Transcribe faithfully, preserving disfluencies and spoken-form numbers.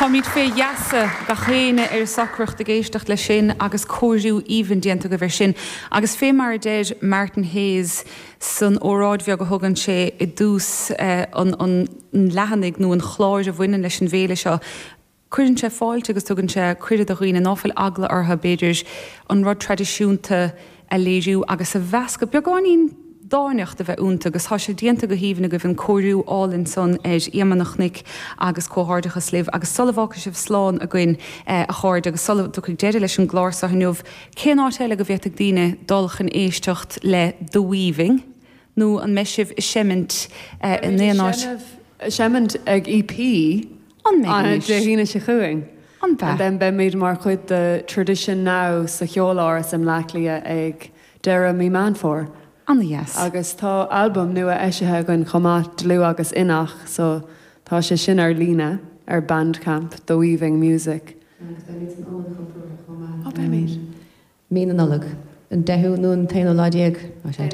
Táimid fé gheasa gach éinne ar socracht ag éisteacht leis sin agus cóiriú aoibhinn déanta agaibh air sin. Agus fé mar a deir Martin Hayes san óráid bheag a thugann sé i dtús eh, an, an leathanaigh nó an chláir a bhaineann leis an bhféile seo. Cuireann sé fáilte agus tugann sé cuireadh do dhaoine ná fuil eagla orthu b'fhéidir an rud traidisiúnta a léiriú agus a mheascadh beagáinín dáineacht a bheith iontu agus tá sé déanta go haoibhinn agaibh an cóiriú álainn san ar Iomaire an Chnoic agus comhghairdeachas libh agus sula bhfágfaidh sibh slán againn eh, a chairde agus sula dtiocfaidh deireadh leis an gclár seo inniu cén áit eile go bhféadfadh daoine dul chun éisteacht le The Weaving nó an mbeidh sibh ag seimint eh, in aon áit Seimint ag EP An an mbeidh Dé hAoine seo chugainn. An And be then beimid mar chuid de Tradition Now sa Cheoláras i mBleá Cliath ag deireadh mí Meán Fómhair. An-dheas. Agus tá albam nua eisithe againn chomh maith dlúth agus inneach, so tá sé sin ar líne ar Bandcamp, The Weaving Music. Agus beimid san Ionad Cultúrtha chomh maith. Ó beimid. Mí na Nollag an deichiú nó an t-aonú lá déag